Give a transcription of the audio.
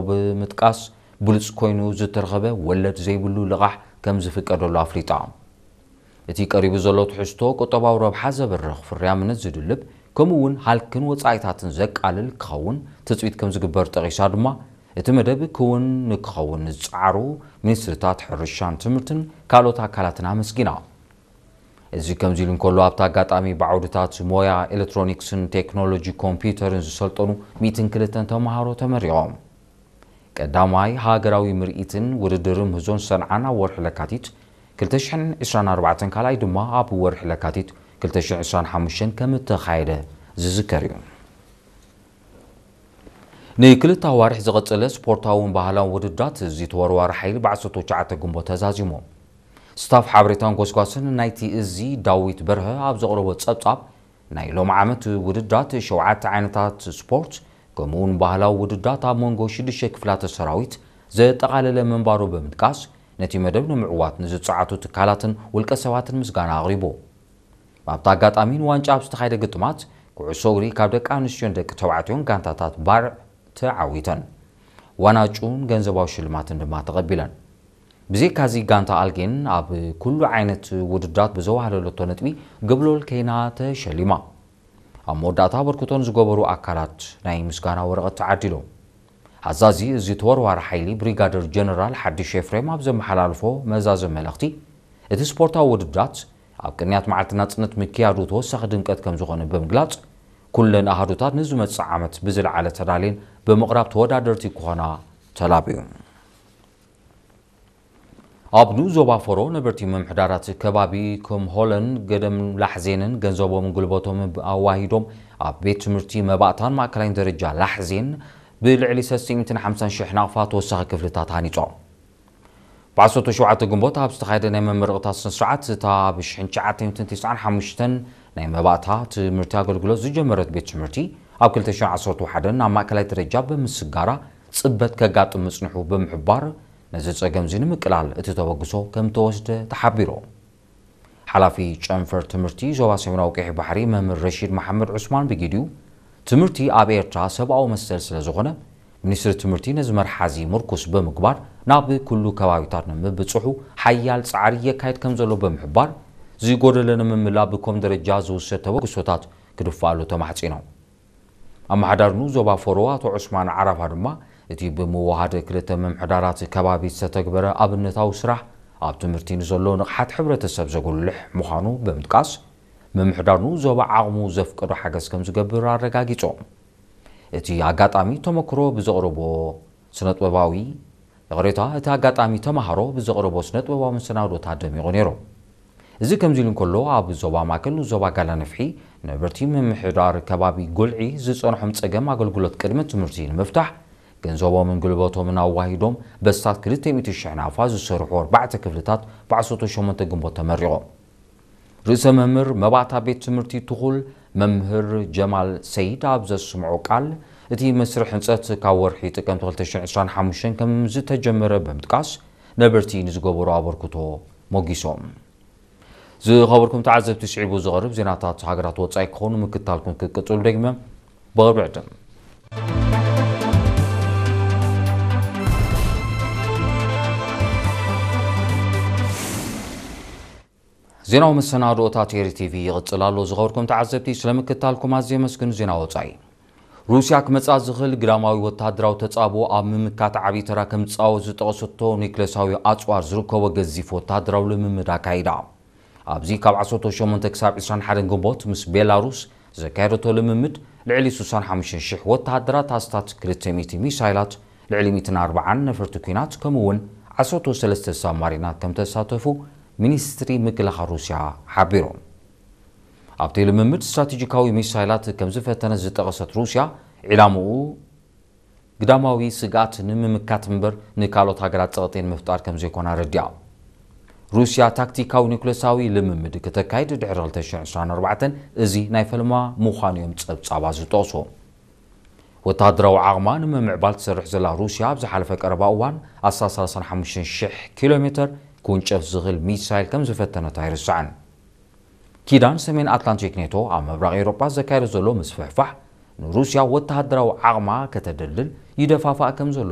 ብምጥቃስ፣ ብሉጽ ኮይኑ ዝተረኸበ ወለድ ዘይብሉ ልቓሕ ከም ዝፍቀደሉ ኣፍሊጣ። እቲ ቀሪቡ ዘሎ ትሕዝቶ ቁጠባዊ ረብሓ ዘበርኽ ፍርያምነት ዝድልብ፣ ከምኡ እውን ሃልክን ወጻኢታትን ዘቃልል ክኸውን ትጽቢት ከም ዝግበር ጠቒሳ ድማ፣ እቲ መደብ ክውን ንክኸውን ዝጸዓሩ ሚኒስትሪታት ሕርሻን ትምህርትን ካልኦት ኣካላትን ኣመስጊና። እዚ ከምዚ ኢሉ እንከሎ፣ ኣብቲ ኣጋጣሚ ብዓውድታት ሞያ ኤሌክትሮኒክስን ቴክኖሎጂ ኮምፒውተርን ዝሰልጠኑ ሚእትን ክልተን ተምሃሮ ተመሪቖም። ቀዳማይ ሃገራዊ ምርኢትን ውድድርን ምህዞን ሰንዓ ኣብ ወርሒ ለካቲት ክልተ ሽሕን ዕስራን ኣርባዕተን፣ ካልኣይ ድማ ኣብ ወርሒ ለካቲት ክልተ ሽሕን ዕስራን ሓሙሽተን ከም እተኻየደ ዝዝከር እዩ። ንክልተ ኣዋርሕ ዝቐጸለ ስፖርታውን ባህላውን ውድድራት እዚ ተወርዋሪ ሓይሊ ብ ዓሰርተ ትሽዓተ ግንቦት ተዛዚሙ። ስታፍ ሓበሬታን ጎስጓስን ናይቲ እዚ ዳዊት በርሀ ኣብ ዘቕረቦ ጸብጻብ፣ ናይ ሎም ዓመት ውድድራት ሸውዓተ ዓይነታት ስፖርት ከምኡውን ባህላዊ ውድድራት ኣብ መንጎ ሽዱሽተ ክፍላተ ሰራዊት ዘጠቓለለ ምንባሩ ብምጥቃስ፣ ነቲ መደብ ንምዕዋት ንዝጸዓቱ ትካላትን ውልቀ ሰባትን ምስጋና ኣቕሪቡ። ኣብቲ ኣጋጣሚ ንዋንጫ ኣብ ዝተኻየደ ግጥማት ኩዕሶ እግሪ ካብ ደቂ ኣንስትዮን ደቂ ተባዕትዮን ጋንታታት ባርዕ ተዓዊተን። ዋንጫን ገንዘባዊ ሽልማትን ድማ ተቐቢለን። ብዘይካዚ ጋንታ ኣልጌን ኣብ ኩሉ ዓይነት ውድድራት ብዘዋህለለቶ ነጥቢ ግብሎል ከይና ተሸሊማ። ኣብ መወዳእታ ኣበርክቶን ዝገበሩ ኣካላት ናይ ምስጋና ወረቐት ተዓዲሎም። ኣዛዚ እዚ ተወርዋሪ ሓይሊ ብሪጋደር ጀነራል ሓድሽ ኤፍሬም ኣብ ዘመሓላልፎ መዛዘ መልእኽቲ፣ እቲ ስፖርታዊ ውድድራት ኣብ ቅንያት መዓልቲ ናጽነት ምክያዱ ተወሳኺ ድምቀት ከም ዝኾነ ብምግላጽ፣ ኩለን ኣሃዱታት ንዝመጽእ ዓመት ብዝለዓለ ተዳልየን ብምቕራብ ተወዳደርቲ ክኾና ተላብዩ። ኣብ ንኡስ ዞባ ፈሮ ነበርቲ ምምሕዳራት ከባቢ ከም ሆለን ገደም ላሕዜንን ገንዘቦምን ጉልበቶምን ኣዋሂዶም ኣብ ቤት ትምህርቲ መባእታን ማእከላይን ደረጃ ላሕዜን ብልዕሊ ሰለስተ ሚእትን ሓምሳን ሽሕ ናቕፋ ተወሳኺ ክፍልታት ሃኒጾም። ብ ዓሰርተ ሸውዓተ ግንቦት ኣብ ዝተኻየደ ናይ መመረቕታ ስነ ስርዓት፣ እታ ብ ሽሕን ትሽዓተ ሚእትን ተስዓን ሓሙሽተን ናይ መባእታ ትምህርቲ ኣገልግሎት ዝጀመረት ቤት ትምህርቲ፣ ኣብ ክልተ ሽሕን ዓሰርተ ሓደን ናብ ማእከላይ ደረጃ ብምስጋራ ጽበት ከጋጥም ምጽንሑ ብምሕባር፣ ነዚ ጸገም እዚ ንምቅላል እቲ ተበግሶ ከም ተወስደ ተሓቢሩ። ሓላፊ ጨንፈር ትምህርቲ ዞባ ሰሜናዊ ቀይሕ ባሕሪ መምህር ረሺድ መሓመድ ዑስማን ብጊዲኡ፣ ትምህርቲ ኣብ ኤርትራ ሰብኣዊ መሰል ስለ ዝኾነ፣ ሚኒስትሪ ትምህርቲ ነዚ መርሓ እዚ ምርኩስ ብምግባር ናብ ኩሉ ከባቢታት ንምብጽሑ ሓያል ጻዕሪ የካይድ ከም ዘሎ ብምሕባር፣ ዝጎደለ ንምምላእ ብኮም ደረጃ ዝውሰድ ተበግሶታት ክድፋኣሉ ተማሕጺኖም። ኣመሓዳሪ ንኡስ ዞባ ፈሮ ኣቶ ዑስማን ዓራፋ ድማ፣ እቲ ብምውሃድ ክልተ ምምሕዳራት ከባቢ ዝተተግበረ ኣብነታዊ ስራሕ ኣብ ትምህርቲ ንዘሎ ንቕሓት ሕብረተሰብ ዘጉልሕ ምዃኑ ብምጥቃስ፣ ምምሕዳር ንኡስ ዞባ ዓቕሙ ዘፍቀዶ ሓገዝ ከም ዝገብር ኣረጋጊጾም። እቲ ኣጋጣሚ ተመክሮ ብዘቕረቦ ስነጥበባዊ፣ ይቕሬታ፣ እቲ ኣጋጣሚ ተማሃሮ ብዘቕረቦ ስነጥበባዊ መሰናዶታት ደሚቑ ነይሩ። እዚ ከምዚ ኢሉ እንከሎ፣ ኣብ ዞባ ማእከል ንኡስ ዞባ ጋላ ነፍሒ ነበርቲ ምምሕዳር ከባቢ ጉልዒ ዝጸንሖም ጸገም ኣገልግሎት ቅድመ ትምህርቲ ንምፍታሕ፣ ገንዘቦምን ጉልበቶምን ኣዋሂዶም በስታት ክልተ ሚእቲ ሽሕ ናቕፋ ዝሰርሑ ኣርባዕተ ክፍልታት ብ ዓሰርተ ሸሞንተ ግንቦት ተመሪቖም። ርእሰ መምህር መባእታ ቤት ትምህርቲ ትኹል መምህር ጀማል ሰይድ ኣብ ዘስምዖ ቃል፣ እቲ መስርሕ ህንጸት ካብ ወርሒ ጥቅምቲ ክልተ ሽሕን ዕስራን ሓሙሽተን ከም ዝተጀመረ ብምጥቃስ፣ ነበርቲ ንዝገበሮ ኣበርክቶ ሞጊሶም። ዝኸበርኩም ተዓዘብቲ፣ ስዒቡ ዝቐርብ ዜናታት ሃገራት ወጻኢ ክኾኑ ምክታልኩም ክትቅጽሉ ደግመ ብቕርቢ ዕድም። ዜናዊ መሰናድኦታት ኤሪ ቲቪ ይቕጽል ኣሎ። ዝኸበርኩም ተዓዘብቲ፣ ስለ ምክታልኩም ኣዝየ የመስግን። ዜና ወጻኢ። ሩስያ ክመጽኣ ዝኽእል ግዳማዊ ወተሃደራዊ ተጻብኦ ኣብ ምምካት ዓቢ ተራ ከም ዝጻወት ዝጠቐሰቶ ኒክለሳዊ ኣጽዋር ዝርከቦ ገዚፍ ወተሃደራዊ ልምምድ ኣካይዳ። ኣብዚ ካብ ዓሰርተ ሸሞንተ ክሳብ ዕስራን ሓደን ግንቦት ምስ ቤላሩስ ዘካየደቶ ልምምድ ልዕሊ ስሳን ሓሙሽተን ሽሕ ወተሃደራት፣ ኣስታት ክልተ ሚእቲ ሚሳይላት፣ ልዕሊ ሚእትን ኣርባዓን ነፈርቲ ኲናት፣ ከምኡ እውን ዓሰርተ ሰለስተ ሳብማሪናት ከም ተሳተፉ ሚኒስትሪ ምክልኻል ሩስያ ሓቢሩ። ኣብቲ ልምምድ ስትራቴጂካዊ ሚሳይላት ከም ዝፈተነ ዝጠቐሰት ሩስያ፣ ዒላምኡ ግዳማዊ ስግኣት ንምምካት እምበር ንካልኦት ሃገራት ጸቕጢ ንምፍጣር ከም ዘይኮነ ኣረዲኣ። ሩስያ ታክቲካዊ ኒኩለሳዊ ልምምድ ክተካይድ ድሕሪ ክልተ ሽሕን ዕስራን ኣርባዕተን እዚ ናይ ፈለማ ምዃኑ እዮም ጸብጻባት ዝጠቕሱ። ወተሃደራዊ ዓቕማ ንምምዕባል ትሰርሕ ዘላ ሩስያ፣ ኣብ ዝሓለፈ ቀረባ እዋን ኣስታት ሰላሳን ሓሙሽተን ሽሕ ኪሎ ሜተር ክውንጨፍ ዝኽእል ሚሳይል ከም ዝፈተነት ኣይርስዕን። ኪዳን ሰሜን ኣትላንቲክ ኔቶ ኣብ ምብራቕ ኤውሮጳ ዘካየዶ ዘሎ ምስፍሕፋሕ፣ ንሩስያ ወተሃደራዊ ዓቕማ ከተደልድል ይደፋፍኣ ከም ዘሎ